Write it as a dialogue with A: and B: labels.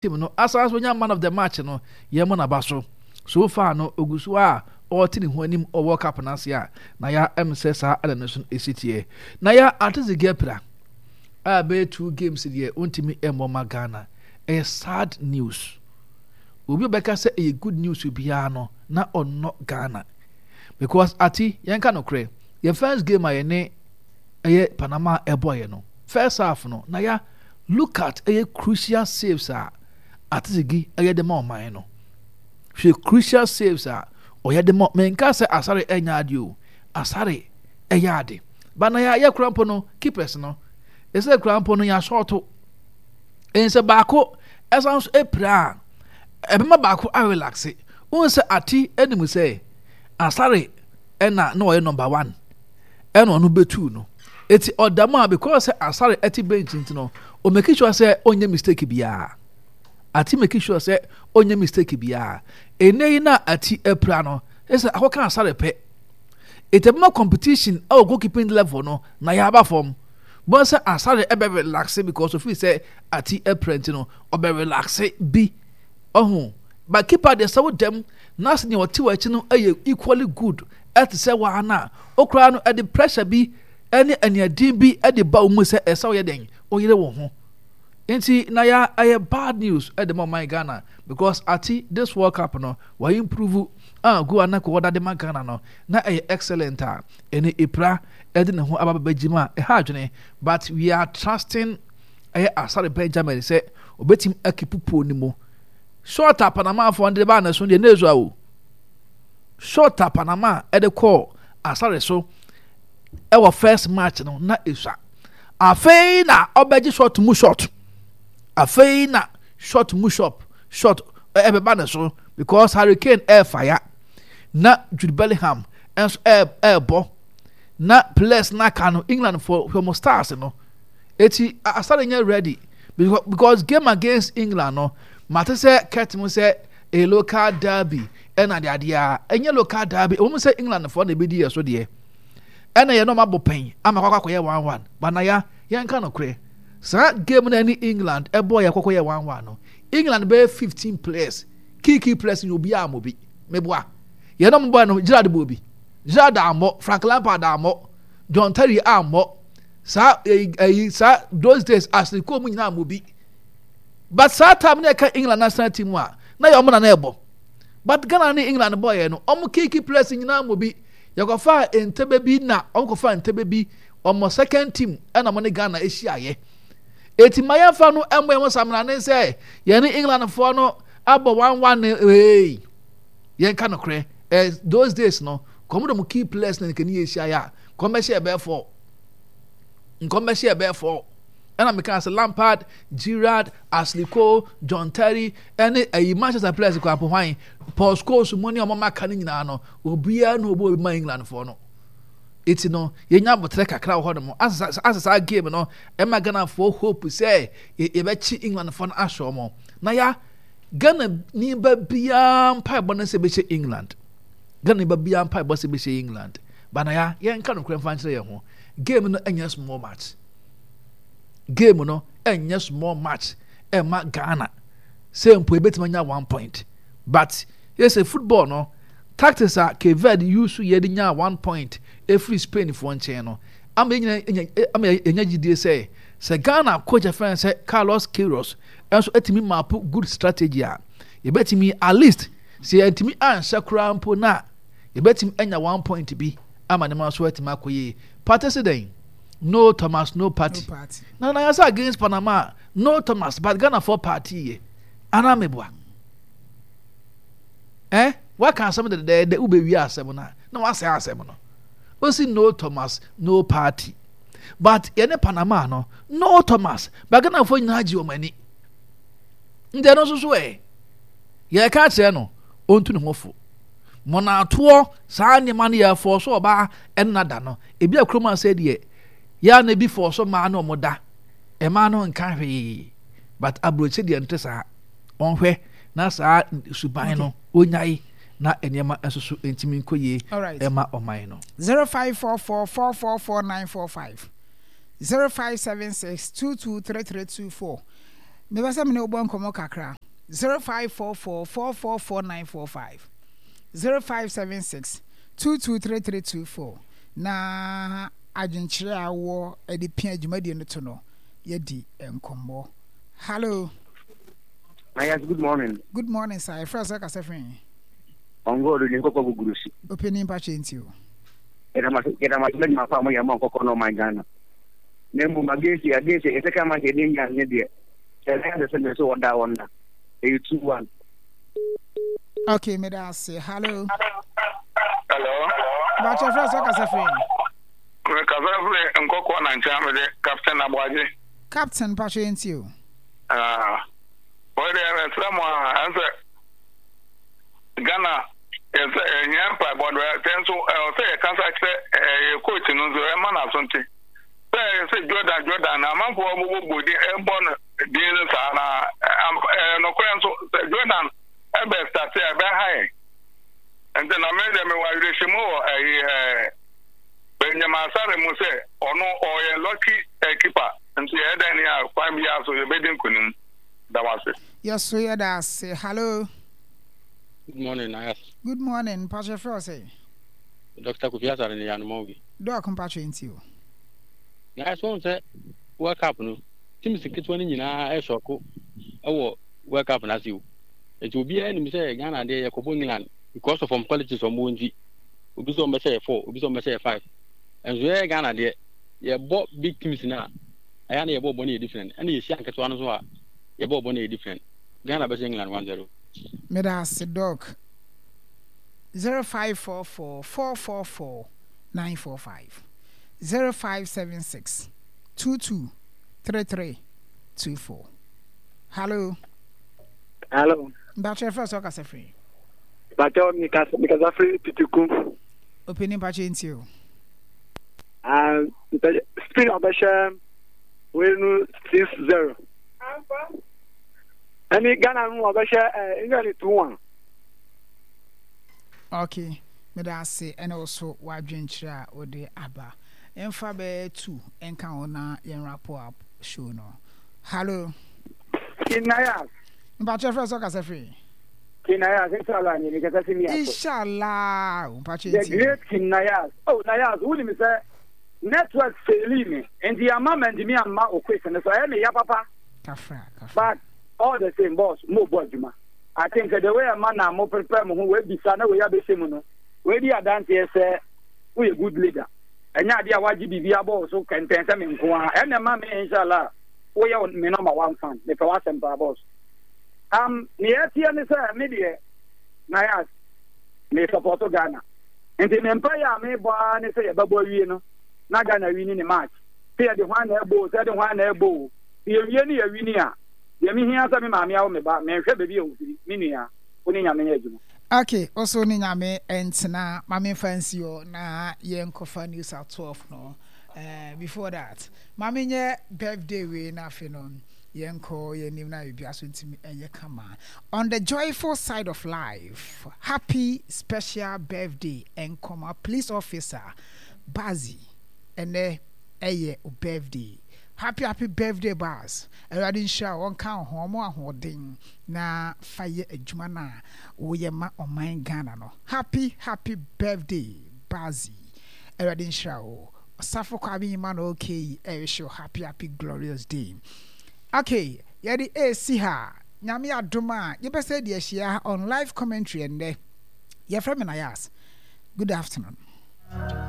A: Team no asan nso nya man of the match no, yɛmmɔ n'aba so. So far no, ogu so a ɔrete ne ho anim wɔ World Cup no ase a, na ya ɛm sɛ saa ɛna no so esi teɛ. Na ya Atizige apira a bɛyɛ two games deɛ ontumi mmɔ ma Ghana. Ɛyɛ sad news. Obi a ɔbɛka sɛ ɛyɛ good news biara no, na ɔnnɔ Ghana. Because Ati, yɛnka nokorɛ, yɛ first game a yɛne ɛyɛ Panama ɛbɔeɛ no, first half no, na ya Look at ɛyɛ crucial saves a Atizigi ɛyɛ de ma ɔman no. Hwɛ crucial saves a ɔyɛ de ma menka sɛ Asare ɛnyɛ ade o. Asare ɛyɛ ade. Ba na yɛ kura mpo no keepers no. Ɛsɛ kura mpo no yɛ asɔɔto. Ɛnsɛ baako ɛsan so ɛpira a ɛbɛma baako arelaxe. Wohu sɛ Ati anim sɛ Asare ɛna na ɔyɛ number one. Ɛna ɔno bɛtuu no. Eti ɔda mu a because sɛ Asare ɛte bench nti no o make sure sɛ ɔnyɛ mistake biara. Ati make sure sɛ ɔnyɛ mistake biara. Ɛnɛ yi na Ati apira no ɛsɛ akɔka Asare pɛ. Eti ɛbɛma competition ɛwɔ goalkeeping level no na yɛaba fam. Bɔn sɛ Asare ɛbɛ relaxe because ofii sɛ Ati apira nti no ɔbɛ relaxe bi. Ɔho but keeper deɛ sɛ wo dɛm na sɛ nea ɔte wɔ akyi no ɛyɛ equally good ɛte sɛ waa no a, wo koraa no ɛde pressure bi ɛne aniaden bi ɛde ba wo mu sɛ ɛsɛ woyɛ dɛn woyere wo ho. Nti na ya ɛyɛ bad news ɛde ma ɔman Ghana because ati this World Cup no wa improve a go a na kɔ ɔda de ma Ghana no na ɛyɛ excellent a ɛne epira ɛde ne ho aba bɛbɛ gyim a ɛha adwene but we are trusting ɛyɛ Asare Benjamin sɛ obetumi akipu pole no mu. Shot a Panamafoɔ no de baa ne so deɛ na esua o. Shot a Panama de kɔɔ Asare so wɔ first match no na esua. Afei na ɔbɛgye shot mu shot. Afei na shot mu shot shot ɛbɛba ne so because Harry Kane ɛrefa ya na Jude Bellingham nso ɛrebɔ na players na aka no England for wɔn stars no. Eti Asare nyɛ ready because game against England no mate sɛ Kurt mu sɛ a local derby ɛna de adeɛ a ɛnyɛ local derby ɛwɔ mu sɛ England foɔ na ɛbɛdi yɛ so deɛ ɛna yɛ nɔɔma bɔ pɛn ama kɔkɔ akɔyɛ 1-1 banaya yɛnka no korɛ saa game no ɛne England ɛbɔ yɛ kɔkɔ yɛ 1-1 no England bɛyɛ 15 players key key players nyɛ obiara ammɔ bi meboa yɛn nɔɔma bɔ no Gerrard bɔ bi Gerrard ammɔ Frank Lampard ammɔ John Terry ammɔ saa ɛyi ɛyi saa those days Ashley Cole mu nyinaa ammɔ bi but saa time na ɛka England national team a na yɛ ɔmo na na ɛbɔ but Ghana ne England bɔ yɛ no ɔmo key players nyinaa mo bi yɛkɔfa ntɛbɛ bi na ɔmo kɔfa ntɛbɛ bi ɔmo second team ɛna ɔmo ne Ghana ahyia yɛ eti ma yɛnfa no ɛmo yɛn ho samina ne sɛ yɛne England foɔ no abɔ 1-1 ne ee yɛn ka no korɛ ɛ those days no kɔm de mo key players na nkani yɛ ahyia yɛ a kɔm bɛhyɛ ɛbɛɛ fɔ nkɔm bɛhyɛ ɛbɛɛ fɔ ɛna meka sɛ Lampard, Gerrard, Ashley Cole, John Terry ɛne ɛyi Manchester players kɔ apo hwan Paul Scholes mu ne ɔmo maka no nyinaa no obiara na ɔbɔ obi ma England foɔ no eti no yɛnya abotrɛ kakra wɔ hɔ nom asɛ saa game no ɛma Ghana foɔ hope sɛ yɛbɛkye England foɔ no ahyɛ ɔmo na ya Ghana ni ba biara mpaebɔ no sɛ bɛhyɛ England Ghana ni ba biara mpaebɔ sɛ bɛhyɛ England ba na ya yɛnka nokorɛ mfa nkyerɛ yɛn ho game no ɛnyɛ small match game no ɛnyɛ small match ɛma Ghana sɛ mpo ebetumi anya 1 point but yɛsɛ football no tactics a Cape Verde use yɛ de nya 1 point efiri Spain foɔ nkyɛn no ama yɛnyina ama yɛnya gyidie sɛ sɛ Ghana coach afɛn sɛ Carlos Queiroz ɛnso etumi map good strategy a yɛbɛtumi at least sɛ yɛntumi anhyɛ koraa mpo na yɛbɛtumi anya 1 point bi ama ne ma so atumi akɔ yie party si dɛn no Thomas no party, no party. Na na yɛsɛ against Panama no Thomas but Ghana for party yɛ anaa meboa eh waka asɛm dedɛɛdɛ wobɛwie asɛm no a na wasɛe asɛm no osi no Thomas no party but yɛne Panama no no Thomas but Ghanafoɔ nyinaa gye wɔn ani nti ɛno nso so ɛ yɛka kyerɛ no ɔntu ne ho fo mɔnatoɔ saa nneɛma no yɛfɔɔ so ɔbaa ɛnna da no ebi a kurom asɛ deɛ yɛa na ebi fɔɔ so mmaa no ɔmo da mmaa no nka hwee but aburokyi deɛ nte saa ɔnhwɛ na saa suban no onyae na nneɛma nso so ntumi nkɔ yie ɛma ɔman no.
B: 0544444945 0576223324. Mepɛ sɛ me ne wo bɔ nkɔmmɔ kakra. 0544 444 945, 0576 223324 na adwenkyerɛ a wowɔ de pia dwumadie no to no, yɛadi nkɔmmɔ. Hallo.
C: Ah, yes, good morning.
B: Good morning, sir. Yɛfrɛ sɛ kasa firi he?
C: Ɔngɔɔdo ne nkɔkɔ guguru si.
B: Ɔpanin mpakyɛ nti o.
C: Yɛda mo ase adwuma pa a moyɛ ma nkɔkɔ na ɔman Ghana. Na mmom against against yɛ second match yɛde England ne deɛ sɛ ɛyɛ sɛ sɛ mɛ sɛ wɔda wɔn na ɛyɛ 2-1.
B: Okay, meda ase. Hello.
D: Hello.
B: Mpakyɛ frɛ sɛ kasa firi he?
D: Mekasa firi nkɔkɔ na nkyɛn mede Captain Aboagye.
B: Captain mpakyɛ yɛntie o.
D: Ah, wei deɛ mesrɛ mo a, ɛnsɛ Ghana yɛsɛ ɛhia mpaebɔ do sɛ nso ɛwɔ sɛ yɛkasa kyerɛ ɛyɛ coach no nso ɛma n'aso nte sɛ ɛyɛ sɛ Jordan Jordan na amanfoɔ bobɔbɔ din ɛbɔ no din no saa na ɛyɛ nokorɛ nso sɛ Jordan ɛbɛ starte a ɛbɛha yɛn nti na me deɛ mewɔ awerɛhyɛmu wɔ ɛyi ɛɛ Benjamin Asare mu sɛ ɔno ɔyɛ lucky keeper Nti yɛyɛ dɛn ni a kwan biara so yɛbɛdi nkonim. Da wo ase.
B: Yɛso yɛda ase. Hallo.
E: Good morning Nayas.
B: Good morning, mpakyɛ frɛ wo sɛn?
E: Doctor Kofi Asare ne Yanoma obi.
B: Doc mpakyɛ nti o.
E: Nayas wohu sɛ World Cup no teams nketewa no nyinaa ɛsɔko ɛwɔ World Cup no ase o. Nti obiara nim sɛ Ghana deɛ yɛkɔbɔ England because of wɔn qualities wɔn wɔ nti. Obi sɛ wɔn bɛhyɛ yɛ 4, obi sɛ wɔn bɛhyɛ yɛ 5. Nso yɛyɛ Ghana deɛ yɛbɔ big teams no a, ɛyɛ a na yɛbɔ bɔ no yɛ different. Ɛna yɛhyia nketewa no nso a, yɛbɔ bɔ no yɛ different. Ghana bɛhyɛ England 1-0.
B: Meda ase Doc. 0544 444 945 0576 22 33 24 Hallo.
C: Hallo.
B: Mpakyɛ fɛ sɛ ɔkasa firi.
C: Mpakyɛ mekasa firi Pitiku.
B: Opini mpakyɛ ntie o.
C: Ah, Spain ɔbɛhyɛ wei no 6-0. Ɛne Ghana no ɔbɛhyɛ eh, England 2-1.
B: Okay, meda ase ɛne wo so w'adwenkyerɛ a wode aba. Mfa bɛyɛ tu nka ho na yɛn wrap up show no. Hello.
C: Kinayas.
B: Mpakyɛ frɛ sɛ ɔkasa firi.
C: King Nayas, inshallah ni mi kasa fi mi aso.
B: Inshallah, mpakyɛ
C: The
B: ntie.
C: great King Nayas. Oh Nayas, wonim sɛ network faili me nti ama mantumi amma wo quiz no so ɛyɛ me ya papa.
B: Kafra, kafra.
C: But all the same boss, mo bɔ adwuma. I think sɛ the way ɛma na mo prepare mo ho wei bisa na wei abɛhyɛ mu no, wei di adanseɛ sɛ woyɛ good leader. Ɛnyɛ adeɛ a wagye biribi abɔ wo so kɛntɛn sɛ me nko ara. Ɛna ɛma me inshallah woyɛ me number one fan. Mepɛ w'asɛm paa boss. Um, nea ɛteɛ ne sɛ me deɛ Nayas me support Ghana. Nti me mpaeɛ a mebɔ ara ne sɛ yɛbɛbɔ awie no na Ghana wini ne match. Sɛ yɛde hwan na ɛbɔ o, sɛ yɛde hwan na ɛbɔ o. Sɛ yɛwie ne yɛwini a, deɛ mehia sɛ me maame awo me ba, menhwɛ baabi a ɔfiri, me nua, wo ne Nyame nyɛ adwuma.
B: Ok, wo so ne Nyame ntena, ma memfa nsi hɔ na yɛnkɔfa news at 12 no. Eh, before that, ma menyɛ birthday wei na afei no Yɛnkɔ yɛn anim na biribiara so ntumi nyɛ kama. On the joyful side of life, happy special birthday nkɔma police officer Bazzy. Ɛnɛ ɛyɛ wo birthday. Happy happy birthday Baz. Awurade nhyira wo, ɔnka wo ho, ɔmo ahoɔden na fa yɛ adwuma no a woyɛ ma ɔman Ghana no. Happy happy birthday Bazzy. Awurade nhyira wo. Osafo Kwame Emmanuel Kay ɛrehyɛ wo happy happy glorious day. Okay, yɛde ɛresi ha. Nyame adom a, yɛbɛsɛ de ahyia on live commentary ɛnnɛ. Yɛfrɛ me Nayas. Good afternoon.